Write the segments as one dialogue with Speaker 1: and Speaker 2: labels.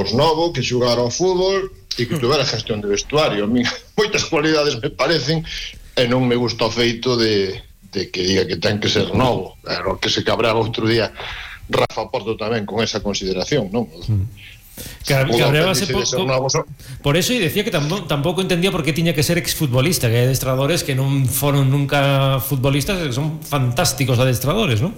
Speaker 1: novo, que xugara ao fútbol e que tuvera gestión de vestuario. A mí moitas cualidades me parecen, e non me gusta o feito de que diga que ten que ser novo. Claro, que se cabraba outro día Rafa Porto tamén con esa consideración, non?
Speaker 2: Cabreábase por eso, e decía que tampouco entendía por que tiña que ser exfutbolista, que hai adestradores que non foron nunca futbolistas, que son fantásticos adestradores, non?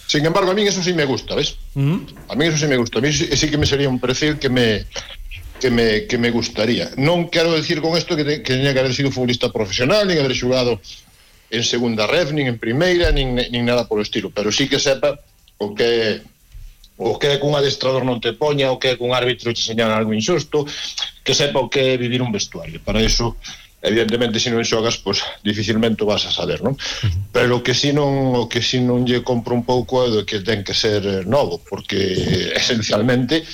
Speaker 1: Sin embargo, a mí eso sí me gusta, ¿ves? A mí eso sí me gusta. A mí sí que me sería un perfil que me gustaría. Non quero decir con esto que teña que haber sido futbolista profesional, nin haber xugado en segunda ref, nin en primeira, nin nada polo estilo, pero sí que sepa o que é que un adestrador non te poña, o que é que un árbitro te señala algo injusto, que sepa o que é vivir un vestuario. Para eso, evidentemente, se non xogas, pues dificilmente o vas a saber, non? Pero o que si non lle compro un pouco é que ten que ser novo, porque esencialmente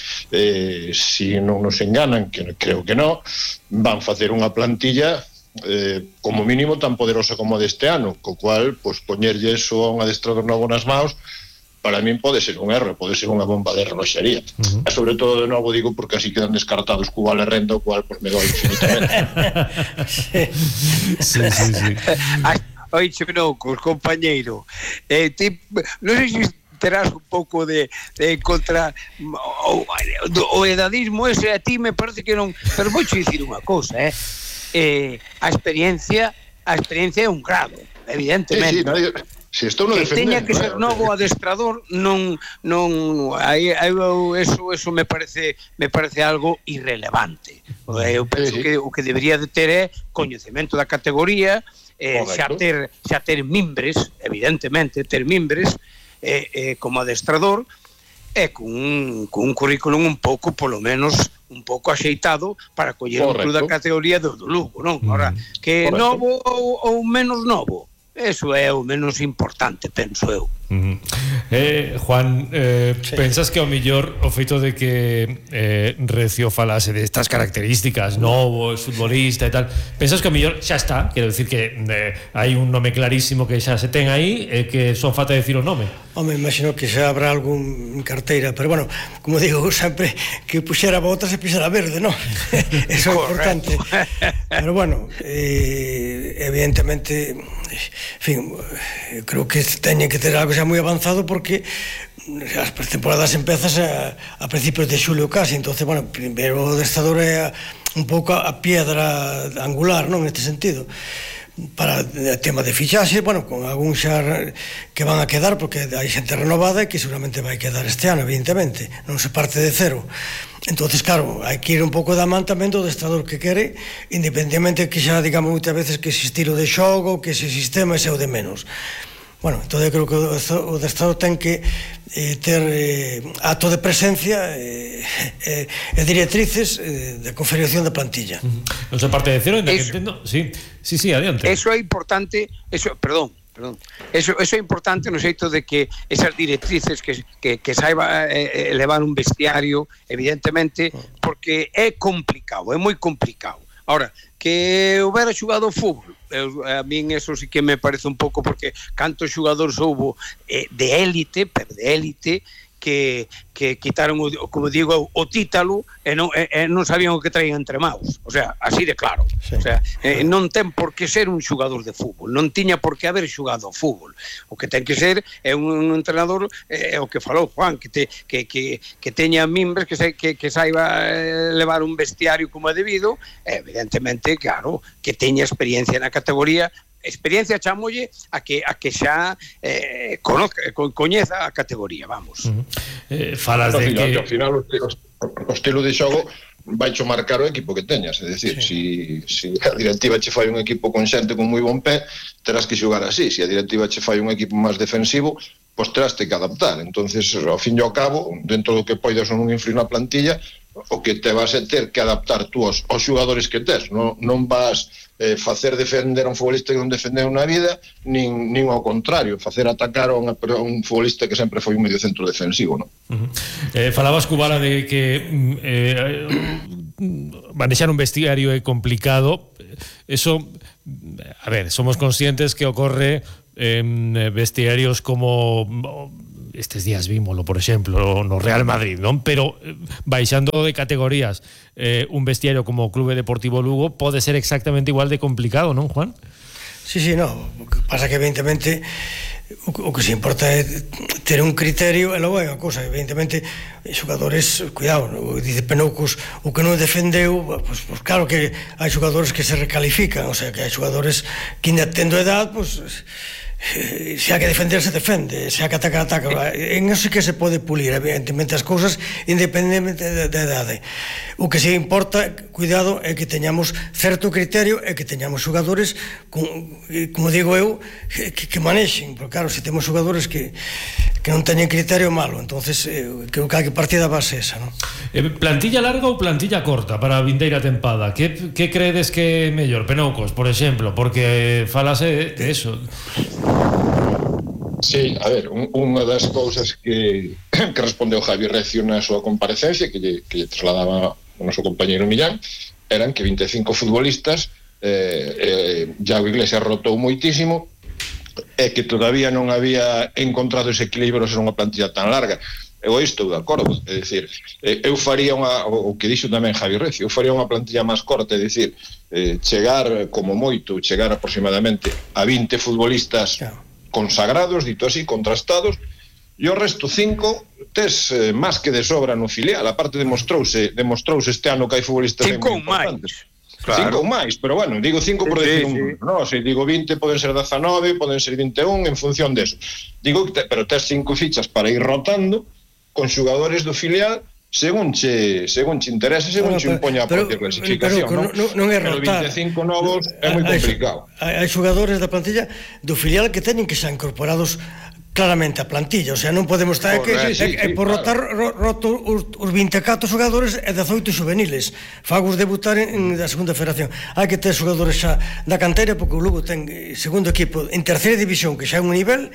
Speaker 1: se non nos enganan, que creo que non, van facer unha plantilla como mínimo tan poderosa como a deste ano, co cual, pues poñerlle eso a un adestrador novo nas maus, para min pode ser un erro, pode ser unha bomba de reloxería. E sobre todo, de novo, digo, porque así quedan descartados co Vale Renda, o cual pues me doi infinitamente.
Speaker 2: Sí.
Speaker 3: Oixe, non, compañeiro, non sei se terás un pouco de contra o edadismo ese, a ti me parece que non, pero vou dicir unha cousa, a experiencia é un grado, evidentemente.
Speaker 1: Si estou no
Speaker 3: que
Speaker 1: defendendo,
Speaker 3: teña que ser novo adestrador non eso me parece algo irrelevante. Eu penso que o que debería de ter é coñecemento da categoría, xa ter mimbres, evidentemente, ter mimbres como adestrador, e con un currículum un pouco, polo menos un pouco axeitado para coller un club da categoría do Lugo, non? Ahora, que novo ou menos novo, eso é o menos importante, penso eu.
Speaker 2: Juan, pensas que ao mellor o feito de que Recio falase destas características, novo, futbolista e tal, pensas que ao mellor xa está, quero decir que hai un nome clarísimo que xa se ten aí e que só falta decir o nome?
Speaker 4: Home, imagino que xa habrá algún en carteira, pero bueno, como digo sempre, que puxera botas e pisara verde, non? Eso é importante. Pero bueno, evidentemente, en fin, creo que teñen que ter algo xa moi avanzado, porque as temporadas empezas a principios de xulio casi, entonces, bueno, primeiro o adestrador é un pouco a piedra angular, non, neste sentido, para o tema de fichaxe, bueno, con algún xa que van a quedar, porque hai xente renovada e que seguramente vai quedar este ano, evidentemente, non se parte de cero. Entonces, claro, hai que ir un pouco da man tamén do adestrador que quere, independentemente que xa digamos moitas veces que ese estilo de xogo, que ese sistema é o de menos. Bueno, entón eu creo que o adestrador ten que ter acto de presencia e directrices de configuración da plantilla.
Speaker 2: Non se parte de cero, ainda que entendo. Sí, adiante.
Speaker 3: Eso é importante, eso é importante no xeito de que esas directrices que saiba elevar un vestiario, evidentemente, porque é complicado, é moi complicado. Ahora, que houbera xugado fútbol, a min eso sí que me parece un pouco, porque cantos xugadores houbo de élite, pero de élite, que quitaron, como digo, o títalo e non sabían o que traían entre maus. O sea, así de claro. Sí. O sea, non ten por que ser un xugador de fútbol, non tiña por que haber xugado ao fútbol. O que ten que ser é un entrenador, o que falou Juan, que teña mimbres, que saiba levar un vestiario como é debido, evidentemente, claro, que teña experiencia na categoría. Experiencia chamolle a que xa coñeza a categoría, vamos.
Speaker 2: Falas de que
Speaker 1: ao final o estilo de xogo vai cho marcar o equipo que teñas, é dicir, se a directiva che fai un equipo con xente con moi bon pé, terás que xogar así. Se a directiva che fai un equipo máis defensivo, pois terás que adaptar. Entonces, ao fin e ao cabo, dentro do que poidas ou non influir na plantilla, o que te vas a ter que adaptar tú aos xogadores que tes, non vas facer defender a un futbolista que non defendeu na vida, nin ao contrario, facer atacar a un futbolista que sempre foi un medio centro defensivo, non?
Speaker 2: Falabas, Cubala, de que manexar un vestiario é complicado. Eso, a ver, somos conscientes que ocorre en vestiarios como estes días vímolo, por exemplo, no Real Madrid, non? Pero baixando de categorías, un vestiario como o Clube Deportivo Lugo pode ser exactamente igual de complicado, non, Juan?
Speaker 4: Sí, no, o que pasa que evidentemente o que se importa é ter un criterio, e logo hai unha cosa, evidentemente xogadores, cuidado, dice Penoucos, o que non defendeu, pues claro que hai xogadores que se recalifican, o sea, que hai xogadores que ainda tendo edad, pues se hai que defender, se defende, se hai que atacar, ataca. En eso sí que se pode pulir, evidentemente, as cousas independentemente da idade. O que se importa, cuidado, é que teñamos certo criterio e que teñamos xogadores, como digo eu, que manexen, porque claro, se temos xogadores que non teñen criterio, malo. Entonces creo que hai que partir da base esa, non?
Speaker 2: Plantilla larga ou plantilla corta para a vindeira tempada? Que credes que é mellor? Penoucos, por exemplo, porque falase de eso.
Speaker 1: Sí, a ver, unha das cousas que respondeu Javi Recio na súa comparecencia, que lle trasladaba o noso compañeiro Millán, eran que 25 futbolistas, Iago Iglesias rotou moitísimo, e que todavía non había encontrado ese equilibrio ser unha plantilla tan larga. Eu estou de acordo, é dicir, eu faría o que dixo tamén Javi Recio, eu faría unha plantilla máis corta, é dicir, chegar como moito, chegar aproximadamente a 20 futbolistas consagrados, dito así, contrastados, e o resto 5 tes máis que de sobra no filial. Aparte demostrouse este ano que hai futbolistas
Speaker 3: 5 ou máis.
Speaker 1: Claro. 5 ou máis, pero bueno, digo 5 por decir un número, no, se digo 20 poden ser 19, poden ser 21 en función deso. Digo, pero tes 5 fichas para ir rotando con xogadores do filial según che interese, según che impoña a propia clasificación,
Speaker 4: non é rotar.
Speaker 1: Pero 25 novos é moi complicado.
Speaker 4: Hai xogadores da plantilla do filial que teñen que ser incorporados claramente a plantilla, o sea, non podemos estar por rotar roto os 24 xogadores e 18 juveniles, fagos debutar da segunda federación. Hai que ter xogadores xa da canteira, porque o Lugo ten segundo equipo en terceira división, que xa é un nivel,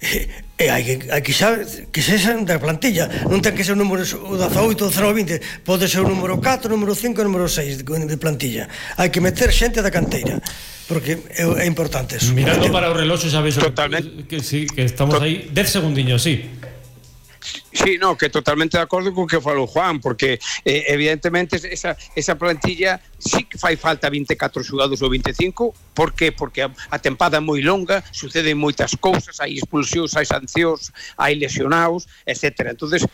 Speaker 4: e hai que xa que sexan da plantilla, non ten que ser o número 18, 0, 20, pode ser o número 4, o número 5, o número 6 de plantilla. Hai que meter xente da canteira, porque é importante eso.
Speaker 2: Mirando para o reloxo, sabes que sí, que estamos aí 10 segundiños, sí.
Speaker 3: Sí, no, que totalmente de acordo con que falou Juan, porque evidentemente esa plantilla sí que fai falta 24 xogadores ou 25. Por qué? Porque a tempada é moi longa, suceden moitas cousas, hai expulsións, hai sancións, hai lesionados, etc. Entonces,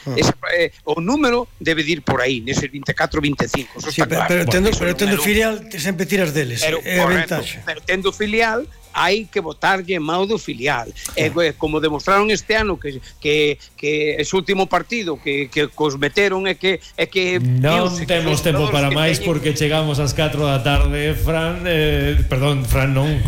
Speaker 3: o número debe ir por aí, neses 24, 25.
Speaker 4: Sí, pero tendo filial sempre tiras deles, é a ventaxa.
Speaker 3: Pero tendo filial hai que botarlle mau do filial. Como demostraron este ano que ese último partido que os meteron é que
Speaker 2: non temos tempo para máis porque chegamos ás 4 da tarde. Fran non,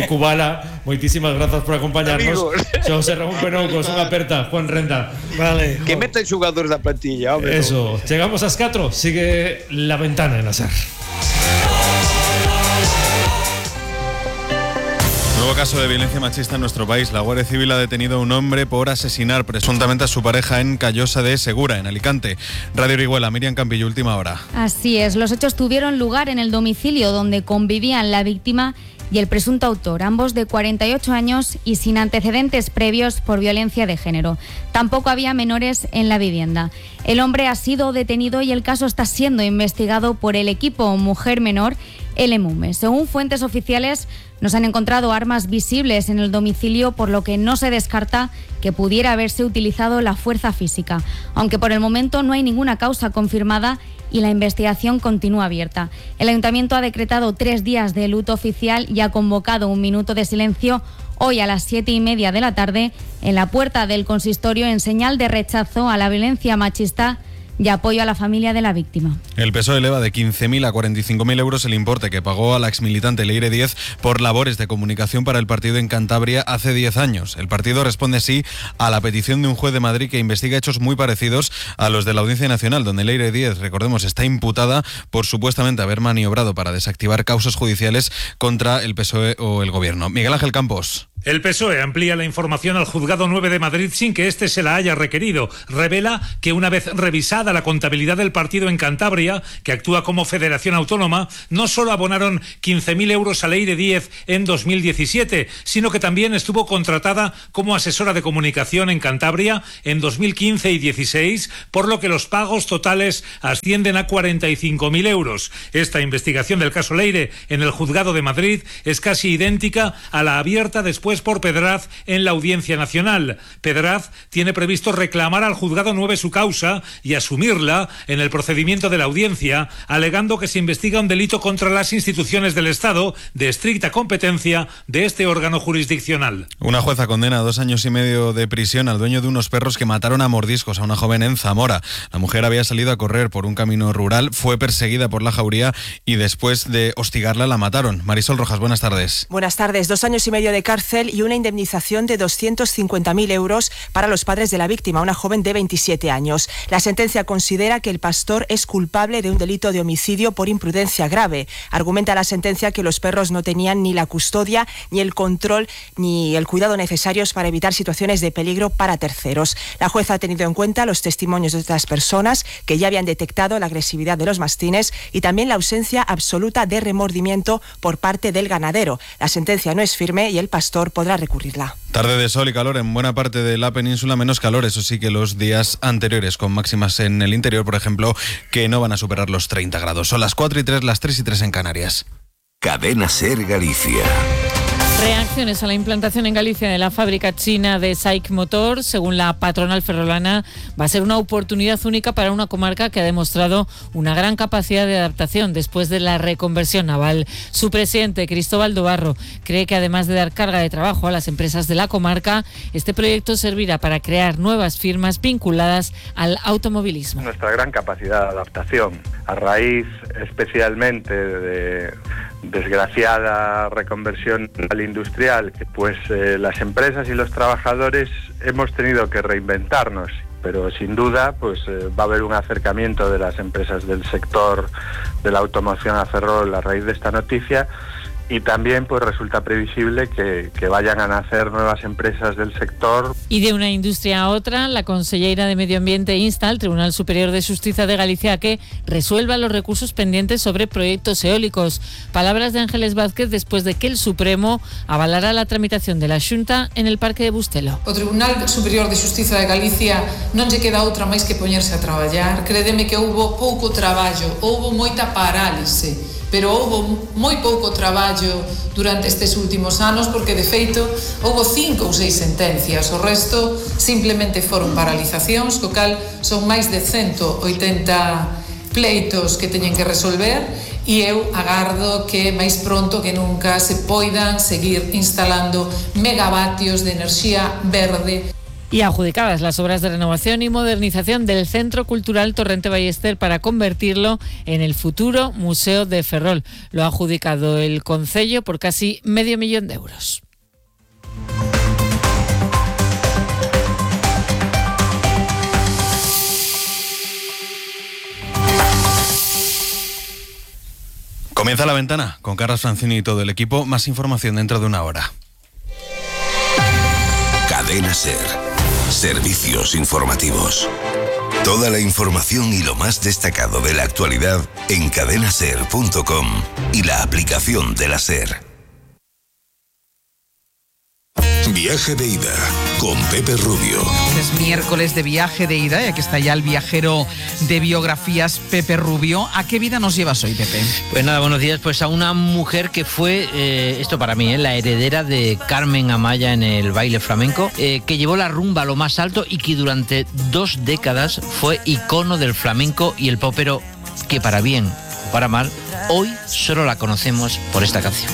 Speaker 2: Kubala, moitísimas grazas por acompañarnos. Xosé Ramón Penoucos, unha aperta, Juan Renda.
Speaker 4: Vale.
Speaker 3: Que meten xogadores da plantilla, hombre.
Speaker 2: Eso, chegamos ás 4, sigue La Ventana en la SER.
Speaker 5: Nuevo caso de violencia machista en nuestro país. La Guardia Civil ha detenido a un hombre por asesinar presuntamente a su pareja en Callosa de Segura, en Alicante. Radio Orihuela, Miriam Campillo, última hora.
Speaker 6: Así es, los hechos tuvieron lugar en el domicilio donde convivían la víctima y el presunto autor, ambos de 48 años y sin antecedentes previos por violencia de género. Tampoco había menores en la vivienda. El hombre ha sido detenido y el caso está siendo investigado por el equipo Mujer Menor, el EMUME. Según fuentes oficiales, no se han encontrado armas visibles en el domicilio, por lo que no se descarta que pudiera haberse utilizado la fuerza física, aunque por el momento no hay ninguna causa confirmada y la investigación continúa abierta. El Ayuntamiento ha decretado 3 días de luto oficial y ha convocado un minuto de silencio hoy a las 7:30 de la tarde en la puerta del consistorio en señal de rechazo a la violencia machista y apoyo a la familia de la víctima.
Speaker 5: El PSOE eleva de 15.000 a 45.000 euros el importe que pagó a la exmilitante Leire Díez por labores de comunicación para el partido en Cantabria hace 10 años. El partido responde así a la petición de un juez de Madrid que investiga hechos muy parecidos a los de la Audiencia Nacional, donde Leire Díez, recordemos, está imputada por supuestamente haber maniobrado para desactivar causas judiciales contra el PSOE o el Gobierno. Miguel Ángel Campos.
Speaker 7: El PSOE amplía la información al Juzgado 9 de Madrid sin que éste se la haya requerido. Revela que una vez revisada la contabilidad del partido en Cantabria, que actúa como federación autónoma, no solo abonaron 15.000 euros a Leire Díez en 2017, sino que también estuvo contratada como asesora de comunicación en Cantabria en 2015 y 16, por lo que los pagos totales ascienden a 45.000 euros. Esta investigación del caso Leire en el Juzgado de Madrid es casi idéntica a la abierta después por Pedraz en la Audiencia Nacional. Pedraz tiene previsto reclamar al Juzgado 9 su causa y asumirla en el procedimiento de la audiencia, alegando que se investiga un delito contra las instituciones del Estado de estricta competencia de este órgano jurisdiccional.
Speaker 5: Una jueza condena a 2 años y medio de prisión al dueño de unos perros que mataron a mordiscos a una joven en Zamora. La mujer había salido a correr por un camino rural, fue perseguida por la jauría y después de hostigarla la mataron. Marisol Rojas, buenas tardes.
Speaker 8: Buenas tardes. 2 años y medio de cárcel y una indemnización de 250.000 euros para los padres de la víctima, una joven de 27 años. La sentencia considera que el pastor es culpable de un delito de homicidio por imprudencia grave. Argumenta la sentencia que los perros no tenían ni la custodia, ni el control, ni el cuidado necesarios para evitar situaciones de peligro para terceros. La jueza ha tenido en cuenta los testimonios de otras personas que ya habían detectado la agresividad de los mastines y también la ausencia absoluta de remordimiento por parte del ganadero. La sentencia no es firme y el pastor podrá recurrirla.
Speaker 5: Tarde de sol y calor en buena parte de la península, menos calor, eso sí, que los días anteriores, con máximas en el interior, por ejemplo, que no van a superar los 30 grados. Son las 4:03, las 3:03 en Canarias.
Speaker 9: Cadena SER Galicia.
Speaker 10: Reacciones a la implantación en Galicia de la fábrica china de SAIC Motor, según la patronal ferrolana, va a ser una oportunidad única para una comarca que ha demostrado una gran capacidad de adaptación después de la reconversión naval. Su presidente, Cristóbal Dobarro, cree que además de dar carga de trabajo a las empresas de la comarca, este proyecto servirá para crear nuevas firmas vinculadas al automovilismo.
Speaker 11: Nuestra gran capacidad de adaptación, a raíz especialmente de desgraciada reconversión industrial, pues las empresas y los trabajadores hemos tenido que reinventarnos, pero sin duda pues va a haber un acercamiento de las empresas del sector de la automoción a Ferrol a raíz de esta noticia. Y también pues resulta previsible que vayan a nacer nuevas empresas del sector.
Speaker 10: Y de una industria a otra, la Conselleira de Medio Ambiente insta al Tribunal Superior de Xustiza de Galicia a que resuelva los recursos pendientes sobre proyectos eólicos. Palabras de Ángeles Vázquez después de que el Supremo avalara la tramitación de la Xunta en el Parque de Bustelo.
Speaker 12: O Tribunal Superior de Xustiza de Galicia non lle queda outra máis que poñerse a traballar. Crédeme que houbo pouco traballo, houbo moita parálise, pero houbo moi pouco traballo durante estes últimos anos porque, de feito, houbo 5 ou 6 sentencias. O resto simplemente foron paralizacións, co cal son máis de 180 pleitos que teñen que resolver e eu agardo que máis pronto que nunca se poidan seguir instalando megavatios de enerxía verde.
Speaker 10: Y adjudicadas las obras de renovación y modernización del Centro Cultural Torrente Ballester para convertirlo en el futuro Museo de Ferrol. Lo ha adjudicado el Concello por casi $500,000 de euros.
Speaker 5: Comienza La Ventana con Carlos Francini y todo el equipo. Más información dentro de una hora.
Speaker 9: Cadena SER. Servicios informativos. Toda la información y lo más destacado de la actualidad en cadenaser.com y la aplicación de la SER. Viaje de ida con Pepe Rubio.
Speaker 13: Es miércoles de viaje de ida y aquí está ya el viajero de biografías, Pepe Rubio. ¿A qué vida nos llevas hoy, Pepe?
Speaker 14: Pues nada, buenos días. Pues a una mujer que fue, esto para mí, la heredera de Carmen Amaya en el baile flamenco, que llevó la rumba a lo más alto y que durante 2 décadas fue icono del flamenco y el popero, que para bien o para mal, hoy solo la conocemos por esta canción.